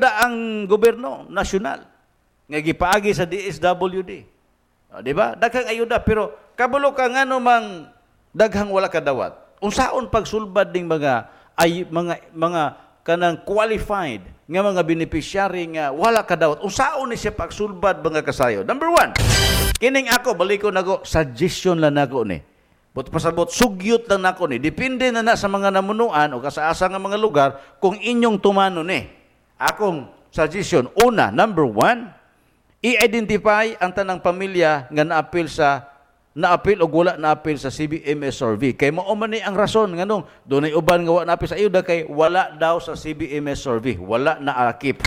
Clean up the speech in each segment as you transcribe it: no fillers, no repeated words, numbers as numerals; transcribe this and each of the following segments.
Ang gobyerno nasyonal nga gipaagi sa DSWD. O, di ba? Daghang ayuda, pero kabalo ka ngano mang daghang wala kadawat. Unsaon pagsulbad ning mga ay, mga kanang qualified nga mga beneficiary nga wala kadawat? Unsaon ni siya pagsulbad, mga kasayo? Number one, kining ako baliko nako, suggestion lang nako ni. But pasabot, sugyot lang nako ni. Depende na na sa mga namunuan o kasaasa nga mga lugar kung inyong tumano ni. Akong suggestion, una, number one, i-identify ang tanang pamilya nga naapil o wala naapil sa CBMS survey. Kay mao man ni ang rason nganong dunay uban nga wa naapil sa ayuda, kay wala daw sa CBMS survey, wala naakip.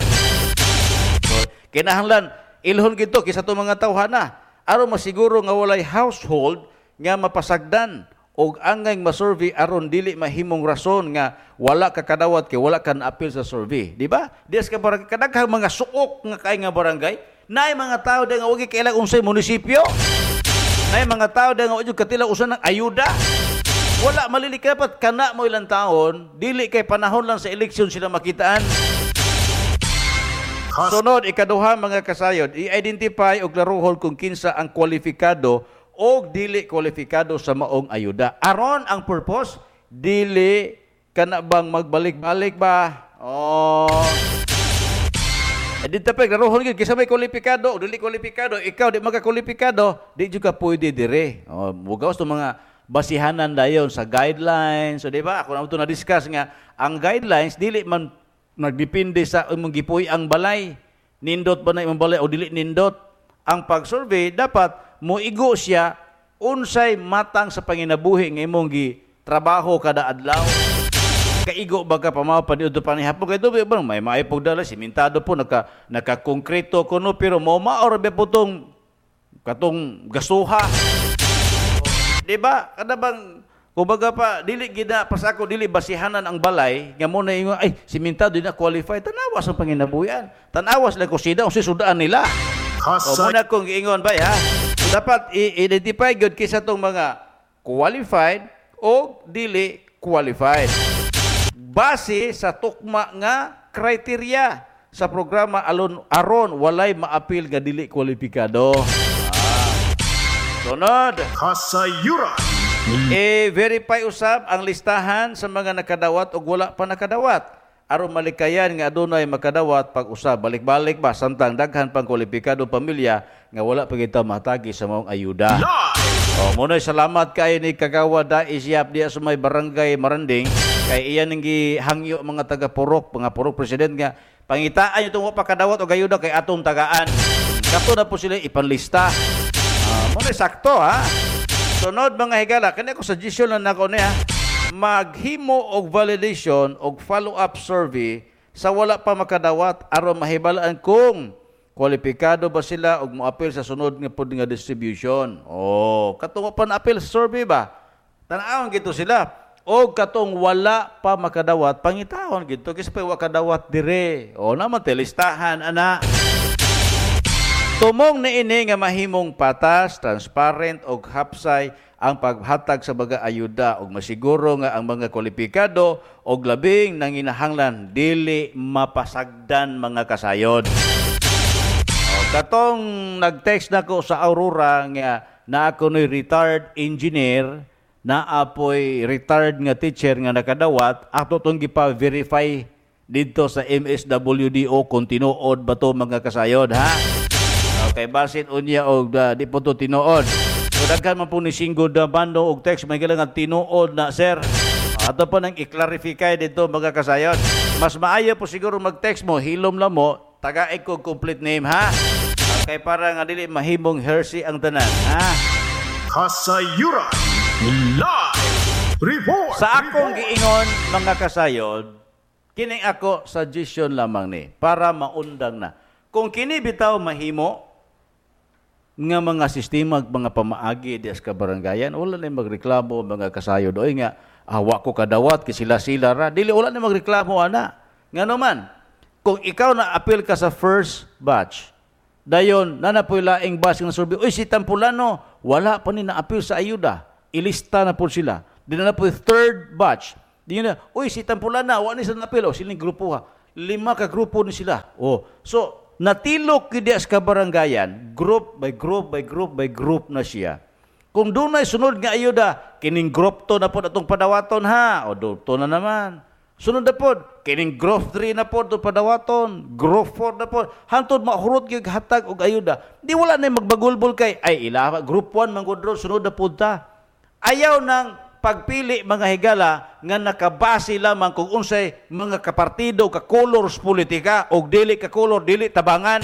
So, kinahanglan ilhon gito kaysa to mga tawhana aron masiguro nga walay household nga mapasagdan og angay ma-survey, aron dili mahimong rason nga wala ka kadawat kay wala ka naapil sa survey, di ba? Dias ka barangay, kadaghang mga suok nga kay nga barangay, naay mga tao di nga wagi kailang unsay munisipyo. Naay mga tao di nga wagi katila usa ng ayuda. Wala malili, dapat kana mo ilang taon, dili kay panahon lang sa eleksyon sila makitaan. Sunod, ikaduha, mga kasayod, i-identify og klarohon kung kinsa ang kwalifikado o dili kwalifikado sa maong ayuda. Aron ang purpose, dili kana bang magbalik-balik ba? Oh. Eh, dito pa, klarohon gyud kinsa may kwalifikado o dili kwalifikado. Ikaw di makakwalifikado, di jud ka pwede dire. Oh, mugawas to mga basihanan dayon sa guidelines. So, di ba? Ako na ito na-discuss nga ang guidelines dili man nagdepende sa imong gipuy ang balay. Nindot ba na imong balay o dili nindot? Ang pag-survey dapat moigo siya unsay matang sa panginabuhi nga imong gi trabaho kada adlaw. Kaigo ba ka pamaw pa dito pa ni hapon kay dubi ba may maayo pog dala, simentado po, naka konkreto kuno, pero mo maor ba po tong katong gasuha? Di ba? Kada bang kumbaga pa dili gid na pasako, dili basihanan ang balay nga mo na ingon, ay, simentado, di na qualify. Tanawas ang panginabuhian. Tanawas lang kusida unsay sudaan nila. O muna kong giingon ba ha. So, dapat i-identify gyud kinsa tong mga qualified o dili qualified. Base sa tukma nga criteria sa programa alon aron walay maapil nga dili kwalipikado. Sunod, Kasayuran. I-verify usab ang listahan sa mga nakadawat o wala pa nakadawat aron malikayan nga adunay makadawat pag-usab balik-balik ba, samtang daghan pang kwalipikado pamilya nga wala pa kita matagi sa maong ayuda. Live. Oh, muna salamat kay ni Kagawa Dais Yap diya sa may barangay Maranding, kay iyan ang gihangyo mga taga Purok, mga Purok president nga pangitaan yung wa pa kadawat og ayuda kay atong tagaan. Kato na po sila ipanlista. Ah, muna sakto ha. Sunod, mga higala, kani ako suggestion lang nako niya. Maghimo og validation og follow-up survey sa wala pa makadawat aron mahibalaan kung kwalipikado ba sila og moapil sa sunod nga pod nga distribution. Oh, katong pa na-apil sa survey ba? Tan-awon gito sila. O katong wala pa makadawat, pangitawon gito kasi pa wa kadawat dire. O naman listahan ana. Tumong ni ini nga mahimong patas, transparent og hapsay ang paghatag sa mga ayuda ug masiguro nga ang mga kwalipikado og labing nanginahanglan dili mapasagdan, mga kasayod. O, katong nag-text nako sa Aurora nga na ako no'y retired engineer, na apoy retired nga teacher nga nakadawat, ato tong gipa-verify dito sa MSWDO kung tinuod ba to, mga kasayod, ha? Okay, basin unya og di po to tinuod. So daghan man po ni singgod na bando og text may nga tinuod na, sir. Ato po nang i-clarify dito, mga kasayod. Mas maayo po siguro mag-text mo, hilom lang mo, tagaik ko complete name ha. Okay, para nga dili mahimong heresy ang tanan ha. Kasayuran. Live. Report. Sa akong giingon, mga kasayod, kining ako suggestion lamang ni para maundang na. Kung kini bitaw mahimo nga mga sistema, mga pamaagi di sa kabarangayan, wala na magreklamo mga kasayod. Oy nga, wa ko kadawat kay sila sila ra. Dili, wala na magreklamo ana. Ngano man, kung ikaw na appeal ka sa first batch, dayon na napoy laing batch nga survey, uy, si Tampulano wala pa ni na-appeal sa ayuda. Ilista na po sila. Di na po third batch. Di na, uy, si Tampulana, wa ni sa na-appeal. O, siling grupo ha. 5 ka grupo ni sila. Oh, so natilok gyud sa kabarangayan, group by group by group by group na siya. Kung dunay sunod nga ayuda, kining group 2 na pod atong padawaton ha, o group 2 na naman. Sunod na pod, kining group 3 na pod atong padawaton, group 4 na pod. Hantod mahurot gyud hatag og ayuda. Di wala na magbagulbol kay ay ila group 1 man gud ron, sunod na pod ta. Ayaw nang pagpili mga higala nga nakabase lamang kung unsay mga kapartido ka colors politika og dili ka color dili tabangan.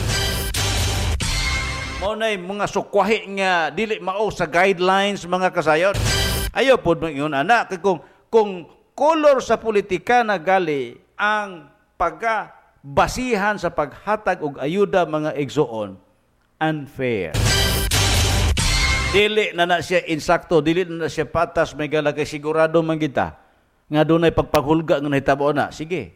Mao nay mga sukwahi nga dili mao sa guidelines mga kasayon. Ayaw pod mo ingon ana kay kung color sa politika na gali ang pagabasihan sa paghatag og ayuda mga igsoon, unfair. Dili na na siya insakto, dili na na siya patas, may gala kay sigurado man kita nga dunay pagpaghulga nga nahitabo na. Sige,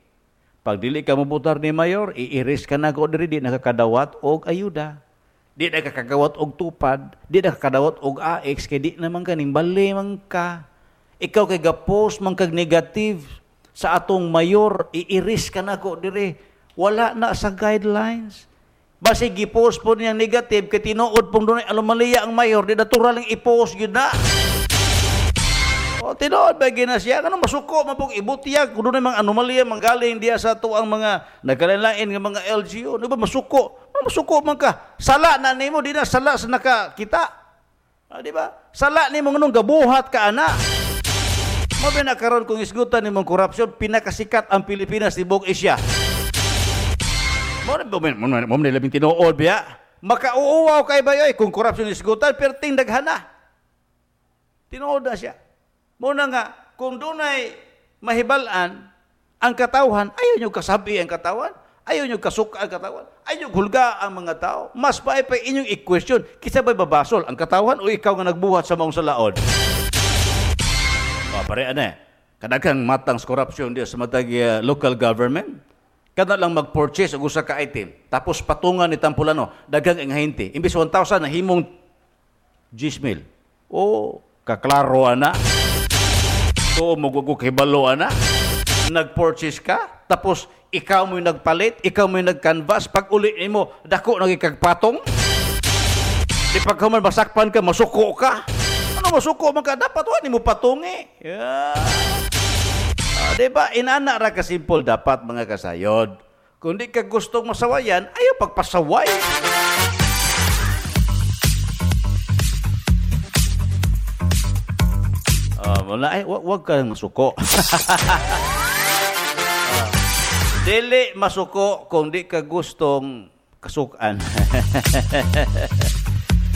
pag dili ka mobotar ni mayor, iiris ka na ko diri, di nakakadawat og ayuda. Di nakakagawat og tupad, di nakakadawat og AX, kay di naman kaning bali man ka. Ikaw kay ga-post man kag negative sa atong mayor, iiris ka na ko diri. Wala na sa guidelines. Basi gi-post po niya negative kay tinuod pong dunay anomalya ang mayor, di natural ang i-post gyud na. O tinuod ba gyud na siya? Ano masuko man pong ibutyag kung dunay mga anomalya manggaling diya sa ato ang mga nagkalain-lain nga mga LGU. Di ba masuko? Ano masuko man ka? Sala na nimo, di na sala sa nakakita. Ah, di ba? Sala nimo nganong gabuhat ka ana. Mo ba na karon kung isgutan nimong korupsyon, pinakasikat ang Pilipinas tibuok Asia. Mo na labing tinuod biya. Makauuwaw kay bayoy kung korupsyon isgutan, perting daghana. Tinuod na siya. Muna nga, kung dunay mahibal-an ang katawhan, ayaw nyo kasabi ang katawan, ayaw nyo kasuka ang katawan, ayaw nyo hulga ang mga tao. Mas pa ay pa inyong i-question, kisa ba'y babasol ang katawan o ikaw nga nagbuhat sa maong salaod? O, pare, ano eh, kadaghang matang sa korupsyon diya sa matag local government. Kada lang mag-purchase og usa ka item, tapos patungan ni Tampulano, daghang ang hinti. Imbis 1,000 nahimong 10,000. O, kaklaro ana. So, mugwag hibalo ana. Nag-purchase ka, tapos ikaw mo'y nagpalit, ikaw mo'y nag-canvas, pag uli nimo, dako nagikagpatong. Di pagkaman masakpan ka, masuko ka. Ano masuko man ka? Dapat wa nimo patungi. Yeah. Diba? Inana ra ka simple dapat mga kasayod. Kung di ka gustong masawayan, ayaw pagpasaway. Wala, ay, wag kang masuko. Dili masuko kung di ka gustong kasukan.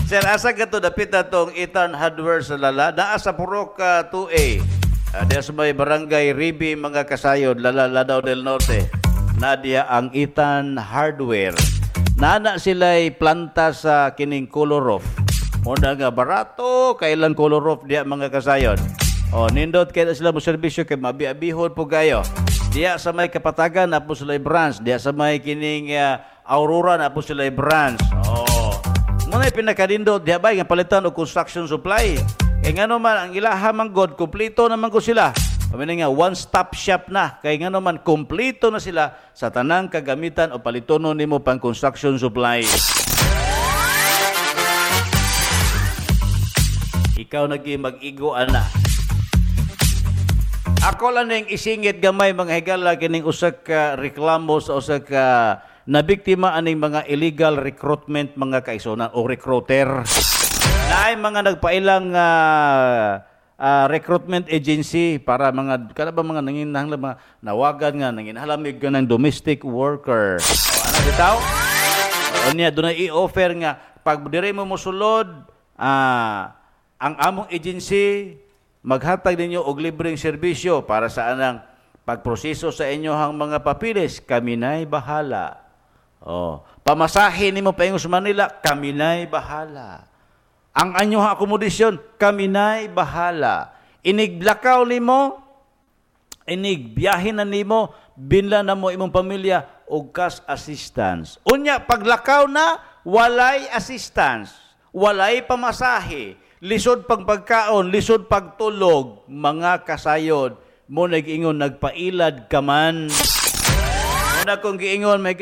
Sir, asa ka to dapit na tong Ethan Hardware sa Lala? Naa sa Purok 2A. Diya sa may barangay Ribi, mga kasayod, Lala, Lanao del Norte. Nadia ang Ethan Hardware. Nana sila'y planta sa kining color off. Muna nga barato, kailan color off diya mga kasayod. O, nindot kaya sila mo serbisyo kay mabiabihon po kayo. Diya sa may Kapatagan, na po sila'y branch. Diya sa may kining Aurora, na po sila'y branch. O, muna pinakadindot diya ba, nga palitan o construction supply. Kaya nga naman, ang ilaha man God, kumplito naman ko sila. Pamina nga, one-stop shop na. Kaya nga naman, kumplito na sila sa tanang kagamitan o palitono nimo pang construction supply. Ikaw nagi mag-igo, ana. Ako lang ning isingit gamay mga higala kining usa ka reklamo sa usa ka nabiktima aning mga illegal recruitment mga kaigsuonan o recruiter. Naay mga nagpailang recruitment agency para mga kada ba mga nanginahanglan mga nawagan nga nanginahanglan ng domestic worker. O, ano bitaw? O niya dunay i-offer nga pag dire mo mosulod ang among agency maghatag ninyo og libreng serbisyo para sa anang pagproseso sa inyohang mga papilis, kami na'y bahala. O, pamasahe nimo paingon sa Manila, kami na'y bahala. Ang anyohang akomodasyon, kami na'y bahala. Iniglakaw nimo, inigbiyahe na nimo, binla na mo imong pamilya og cash assistance. Unya, paglakaw na, walay assistance, walay pamasahe, lisod pagpagkaon, lisod pagtulog, mga kasayod, mo nag-ingon, nagpailad ka man. na akong giingon, may